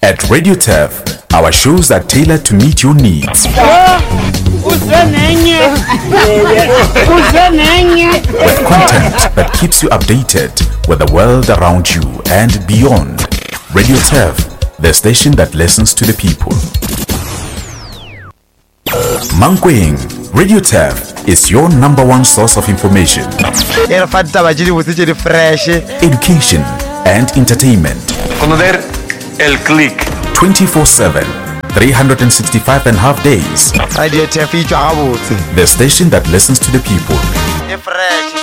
At Radio Turf, our shows are tailored to meet your needs. With content that keeps you updated with the world around you and beyond. Radio Turf, the station that listens to the people. Mankweng, Radio Turf is your number one source of information. E re fa ditaba tše dibotse tše di fresh. Education and entertainment. Conocer el click. 24/7, 365 and half days. Radio Turf e tšwa gabotse. The station that listens to the people. E fresh.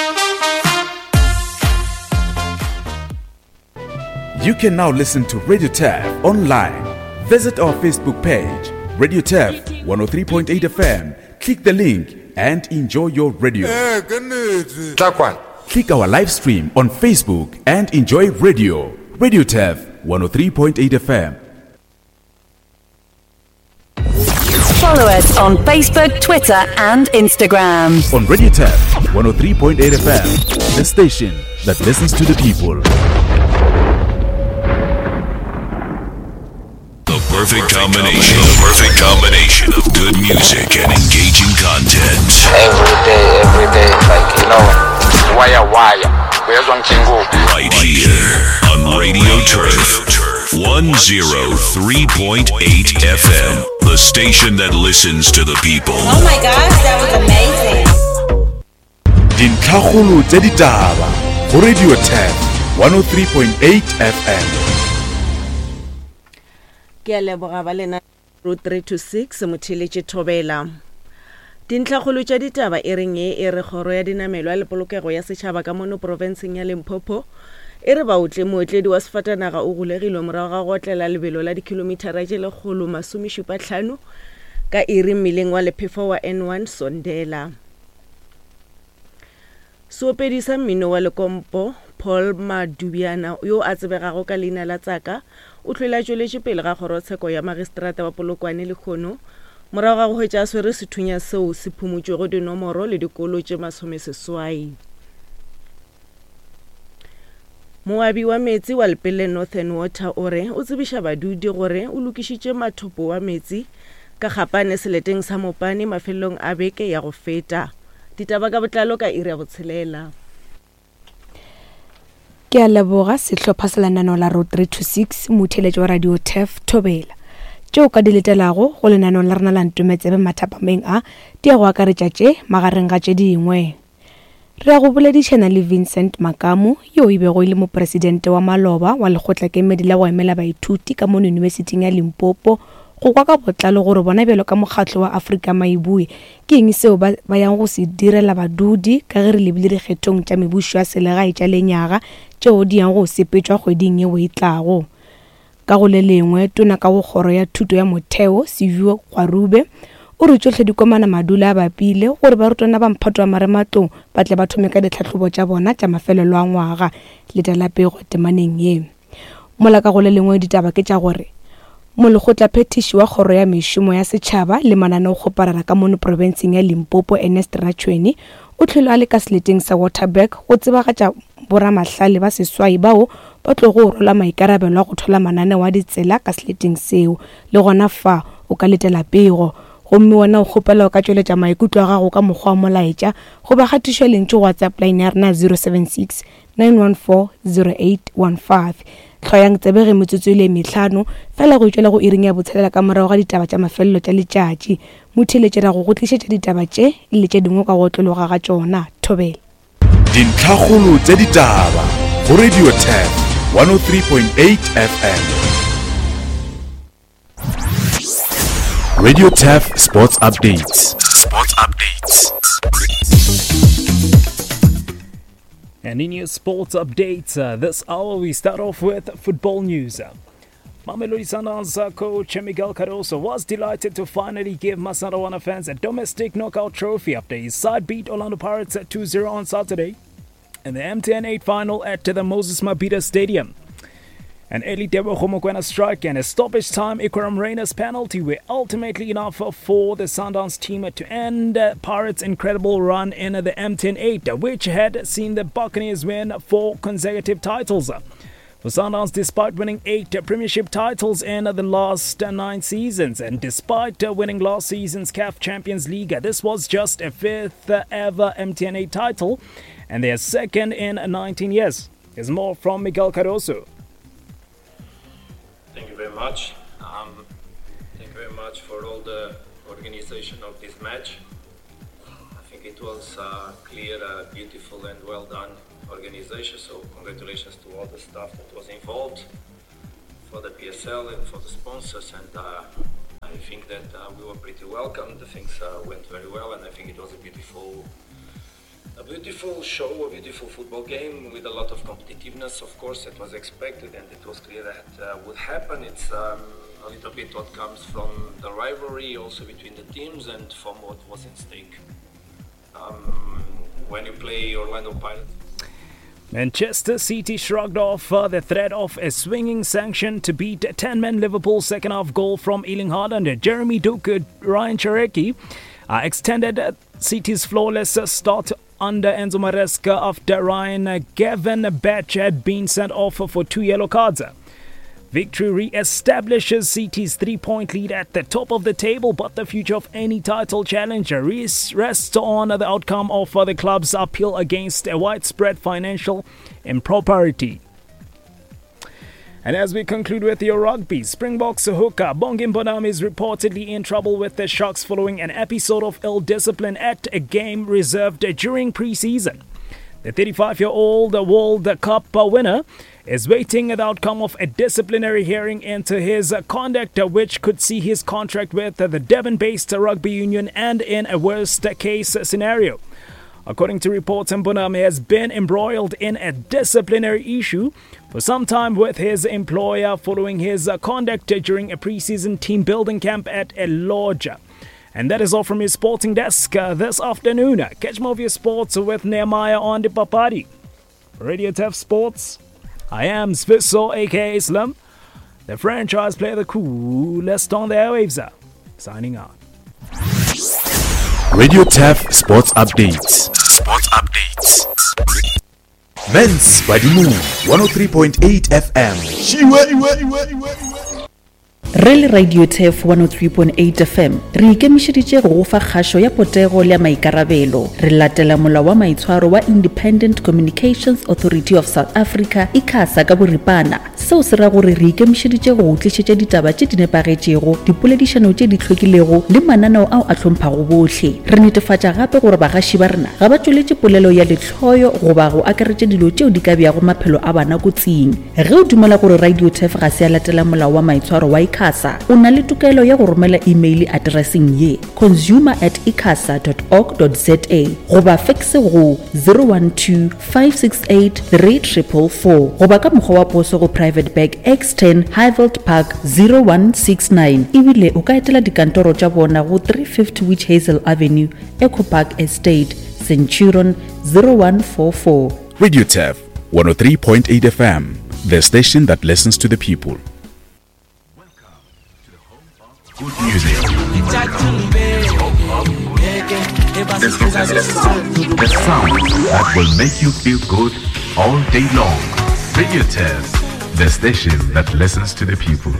You can now listen to Radio Turf online. Visit our Facebook page, Radio Turf 103.8 FM. Click the link and enjoy your radio. Click our live stream on Facebook and enjoy radio. Radio Turf 103.8 FM. Follow us on Facebook, Twitter, and Instagram. On Radio Turf 103.8 FM, the station that listens to the people. The perfect combination. The perfect combination of good music and engaging content. Every day, every day, like you know, wire wire. Uyezwa ngijingo. Right here on Radio Turf 103.8 FM, the station that listens to the people. Oh my gosh, that was amazing. Dintlhakgolo tša ditaba go Radio Turf 103.8 FM. Ke a leboga ba lena 3 to 6 motheeletše thobela. Dintlhakgolo tša ditaba e reng ye e re kgoro ya dinamelwa le polokego ya setšhaba ka mono profenseng ya Limpopo e re baotle mootledi wa sefatanaga o golegilwe morago ga go otlela lebelo la dikhilomithara tše 175 ka iri mmileng wa lephefo wa N1 Sondela. Seopedi sa mmino wa lekompo, Paul Madubyana, yo a tsebegago ka leina la Tsaka, o hlwele a tšweletše pele ga kgorotsheko ya magistrata wa Polokwane lehono morago ga go hwetša a swere sethunya seo se phumotšwego dinomoro le dikolo tše masomeseswai. Moabi wa meetse wa Lepelle Northern Water o re o tsebiša badudi gore o lokišitše mathopo wa meetse ka Kgapane seleteng sa Mopani mafelelong a beke ya go feta. Ditaba ka botlalo ka iri ya botshelela. Ke a leboga sehlopha sa lenaneo la Road 3 to 6, motheeletši wa Radio Turf, Thobela. Tšeo ka di letelago go lenaneong la rena la Ntometsebe mathapameng a di ya go akaretša tše magareng ga tše dingwe. Re ya go boledišana le Vincent Makamu yo e bego e le mopresidente wa maloba wa lekgotlakemedi la go emela baithuti ka mono Yunibesithing ya Limpopo go kwa ka botlalo gore bona bjalo ka mokgatlo wa Afrika Maibue Ke eng seo ba, ba yang go se direla badudi ka ge re lebile dikgethong tša mebušo ya selegae tša lenyaga tšeo di yang go sepetšwa kgweding yeo e tlago? Ka go le lengwe, Tona ka go Kgoro ya Thuto ya Motheo, Siviwe Gwarube, o re tšohle di komana madula a bapile gore barutwana ba mphato wa marematlou ba tle ba thome ka ditlhahlobo tša bona tša mafelelo a ngwaga. Letela pego temaneng ye. Mola ka go le lengwe ditaba ke tša gore Molekgotlaphethiši wa Kgoro ya Mešomo ya Setšhaba le Mananeokgoparara ka mono profenseng ya Limpopo Ernest Ratšhweni o hlwele a le ka seleteng sa Waterberg go tsebagatša boramahlale ba seswai bao ba tlogo rwala maikarabelo a go thola mananeo a ditsela ka seleteng seo. Le gona fa o ka letela pego gomme wena o kgopela o ka tšweletša maikutlo a gago ka mokgwa wa molaetša goba kgatišo ya lentšu go WhatsApp line ya rena 076 9140815. Hloyang tsebe ge metsotso e le mehlano fela go tšwela go iring ya botshelela ka morago ga ditaba tša mafelelo tša letšatši. Motheeletši ra go go tlišetša ditaba tše le tše dingwe ka go otlologa ga tšona. Thobela. Dintlhakgolo tša ditaba go Radio 10 103.8 FM. Radio Turf Sports Updates. Sports Updates. And in your sports updates, uh, this hour we start off with football news. Mamelodi Sundowns uh, coach Miguel Cardoso was delighted to finally give Masandawana fans a domestic knockout trophy after his side beat Orlando Pirates at 2-0 on Saturday in the MTN 8 final at the Moses Mabhida Stadium. An early Teboho Mokoena strike and a stoppage time Iqraam Rayners penalty were ultimately enough for the Sundowns team to end Pirates' incredible run in the MTN 8, which had seen the Buccaneers win four consecutive titles. For Sundowns, despite winning 8 Premiership titles in the last 9 seasons, and despite winning last season's CAF Champions League, this was just a 5th ever MTN8 title and their second in 19 years. Here's more from Miguel Cardoso. Thank you very much. Thank you very much for all the organization of this match. I think it was clear, beautiful and well done organization, so congratulations to all the staff that was involved, for the PSL and for the sponsors, and I think that we were pretty welcome. The things went very well, and I think it was a beautiful show, a beautiful football game with a lot of competitiveness. Of course, it was expected and it was clear that would happen. It's a little bit what comes from the rivalry also between the teams and from what was in stake. When you play Orlando Pirates. Manchester City shrugged off the threat of a swinging sanction to beat 10-man Liverpool's second-half goal from Erling Haaland. Jeremy Doku, Ryan Cherki extended City's flawless start under Enzo Maresca after Ryan Gravenberch had been sent off for 2 yellow cards. Victory re-establishes City's 3-point lead at the top of the table, but the future of any title challenger rests on the outcome of the club's appeal against a widespread financial impropriety. And as we conclude with your rugby, Springboks hooker Bongi Mbonambi is reportedly in trouble with the Sharks following an episode of ill discipline at a game reserved during pre-season. The 35-year-old World Cup winner is waiting the outcome of a disciplinary hearing into his conduct, which could see his contract with the Devon-based rugby union end in a worst-case scenario. According to reports, Mbonambi has been embroiled in a disciplinary issue for some time with his employer following his conduct during a pre-season team-building camp at a lodge. And that is all from your sporting desk this afternoon. Catch more of your sports with Nehemiah on the Papadi. Radio Turf Sports, I am Sviso, aka Slim, the franchise player, the coolest on the airwaves. Signing out. Radio Turf Sports Updates. Sports Updates. Men's Badimung 103.8 FM. Re le Radio Turf 103.8 FM, re ikemišeditše go go fa kgašo ya potego le ya maikarabelo. Re latela molao wa maitshwaro wa Independent Communications Authority of South Africa, ICASA, ka boripana. Seo se ra gore re ikemišeditše go go tlišetša ditaba tše di nepagetšego, dipoledišano tše di hlwekilego le mananeo ao a hlomphago bohle. Re netefatša gape gore bagaši ba rena ga ba tšweletše polelo ya lehloyo goba go akaretša dilo tšeo di ka beago maphelo a bana kotsing. Ge o dumela gore Radio Turf ga se ya latela molao wa maitshwaro wa ICASA, o na le tokelo ya go romela imeile atereseng ye, consumer at icasa dot org dot za goba fekse go 012 568 3444 goba ka mokgwa wa poso go Private Bag X10 Highveld Park 0169. Ebile o ka etela dikantoro tša bona go 350 Witch Hazel Avenue, Echo Park Estate, Centurion 0144. Radio Turf 103.8 FM, the station that listens to the people. Good music. The sound that will make you feel good all day long. Radio Turf, the station that listens to the people.